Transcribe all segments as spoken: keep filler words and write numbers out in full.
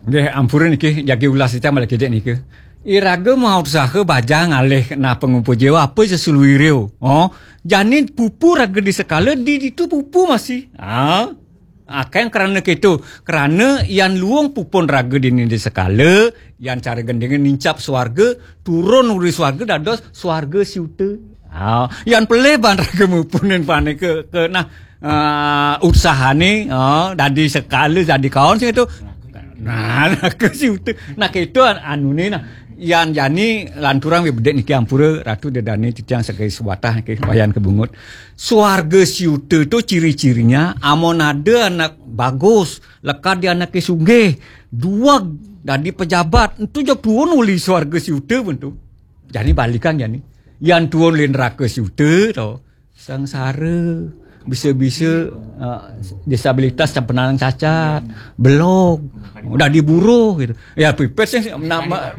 Nggih, ampura niki, jagi ulas titiang malih kidik niki. Iraga mautsaha bajang alih nah pangupa jiwa apa seseluireo. Oh, jani pupu raga di sekala, di ditu pupu masih. Ah, akan krana keto, krana yan luung pupun raga dini di sekala, yan cara gendinga nincap swarga, turun uli swarga dados swarga siuta. Ah, yan pelih ban raga mupunin panika ke nah, ah, utsahane, ah, dadi sekala, dadi kaon sing itu. Nah, nah, ke siuta. Nah, keto an-, anune nah. Yan jani lanturang wi bedik niki ampura Ratu Dedane titiang sebagai sebatah niki wayan kebungut. Swarga siuta tu ciri-cirinya amun ada anak bagus, lekad di anake sugih, dueg dadi pejabat, entu jeg tuun uli swarga siuta pun tu. Jani balikan jani. Yan tuun uli neraka siuta to. Sangsara, bisa-bisa, eh, disabilitas sampenan cacat, belog, udah diburu gitu. Ya pipis sih nama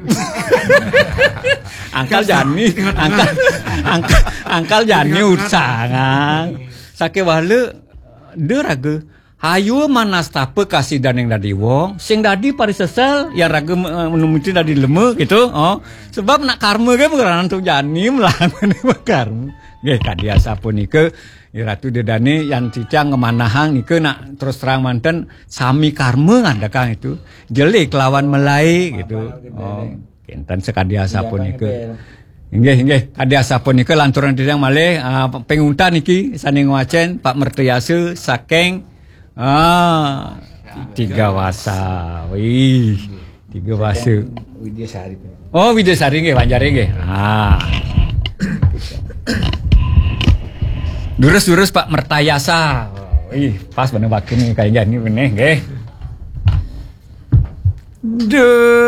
angkal jani, angkal angkal, angkal jani utsangan. Sakewala de raga. Hayu manastapa kasidaning dadi wong, sing dadi parisesel, yang raga me- menuruti dadi lema gitu. Oh, sebab nak karma kan pengerangan tu jani melahan karma. Nggih, kadi asapunika, ya, Ratu Dedane yang titiang ngemanahang nika nak terus terang manten sami karma ngadakang itu. Jelek kelawan melai gitu. Oh, kenten sekadi asapunika. Inggih, inggih. Kadi asapunika lanturang titiang malih, ah, pinguntan niki sane ngwacen Pak Mertayasa saking, ah, Tiga Wasa. Wih, Tiga Wasa. Widya Sari. Oh, Widya Sari nggih, Banjar nggih. Ah. Durus-durus Pak Mertayasa. Wih, pas bener bakin nih kayaknya ini bener nggih. Duh.